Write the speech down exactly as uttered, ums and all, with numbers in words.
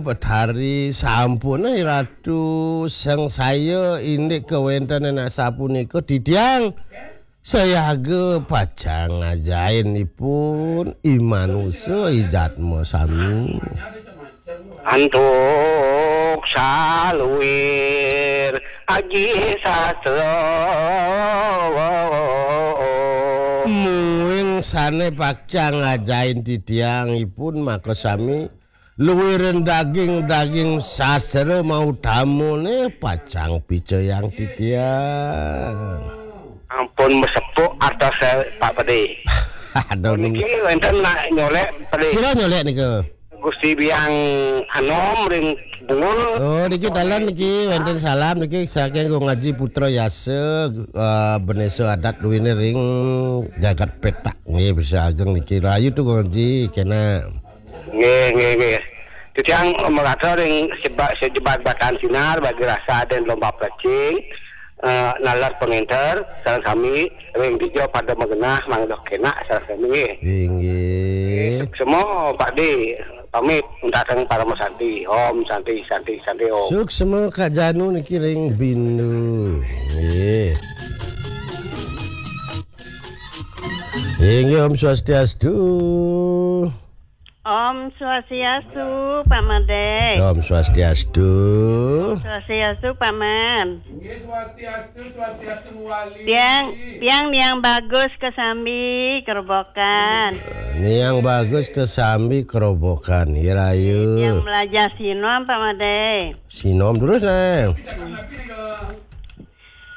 Betari sampun, eh, Ratu, sangsaya indik kawéntenan asapunika titiang sayaga pacang ngajahin ipun i manusa i jatma sami. Antuk saluir aji sastra. Muing sané pacang ngajahin titiang ipun makasami luiring daging-daging sastra mautamané pacang picayang titiang. Ampun masepuk artos, eh, Pak Pedih. Aduh, niki wénten nak nyolék, Pedih. Sira nyolék nika? Gusti Biang Anom ring Bungur. Oh, niki dalan niki wénten salam niki saking Gung Aji Putra Yasa, eh, Benesa Adat duwéné ring Jagat Petak. Nggih, bisa ageng niki. Rahayu tu Gung Aji, kénak. Nggih, nggih, nggih. Titiang merasa ring seba-, sejebat batan sinar bagi rasa dan lomba plecing, eh, nalar pengenter, sareng sami ring dija pada magenah mangda kénak sareng sami nggih. Inggih. Semua Pak Di pamit untateng Parama Santi. Om Santi, Santi, Santi, Om. Suksma Kak Janu niki ring Bindu. Nggih. Inggih, Om Swastiastu. Om Swastiastu, Pak Madé. Om Swastiastu. Swastiastu, Pak Man. Inggih, Swastiastu, Swastiastu, Muali. Tiang, tiang Niang Bagus kesambi Kerobokan. Niang Bagus kesambi Kerobokan, irayu. Tiang belajar sinom, Pak Madé. Sinom terus, nah.